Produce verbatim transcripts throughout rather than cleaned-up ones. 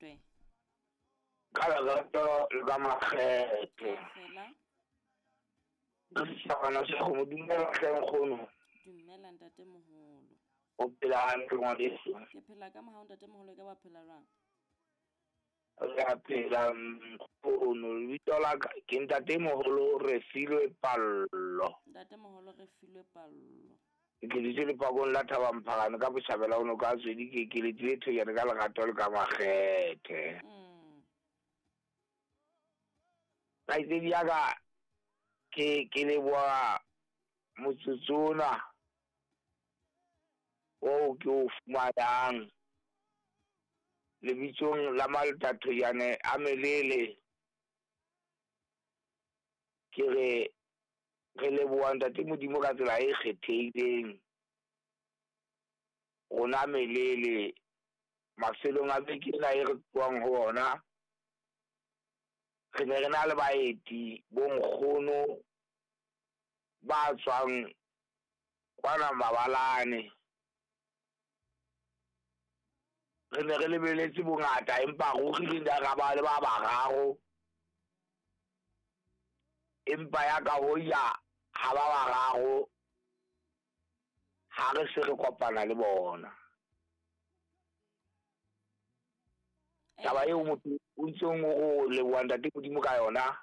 Ratwe. Ka lerato le ka makgethe. Fela. Re setjhabana se kgomo, dumela hle nkgono. Dumela ntate moholo. O phela hantle ngwaneso? Ke phela ka mohau ntate moholo, e ka ba phela jwang? Re a phela nkgono. Lebitso la ka ke ntate moholo Refilwe Pallo. Ntate moholo Refilwe Pallo. Ke dutse lepakong la Thabamphakane ka botjhabela ho noka ya Tswedi, ke ke letile Thojane ka lerato le ka makgethe. Mm. Kgaitsedi ya ka, ke ke leboha motsotso ona oo ke o fumanang lebitsong la Malota Thojane a Melele. Ke re re leboha ntate Modimo ka tsela e kgethehileng. Rona Melele mafelong a beke ena e re tlohang ho ona, re ne re na le baeti bo nkgono ba tswang kwana Mabalane. Re ne re lebeletse bongata, empa ruri re ne ra ba le ba bararo. Empa ya ka ho ya ha ba bararo, ha re se re kopana le bona. Taba eo motho o ntseng o leboha ntate Modimo ka yona,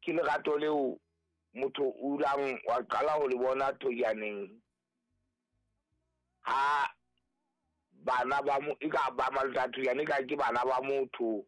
ke lerato leo motho o ulang wa qala ho le bona Thojaneng. Ha bana ba mo, e ka ba Malota Thojane, e ka ke bana ba motho.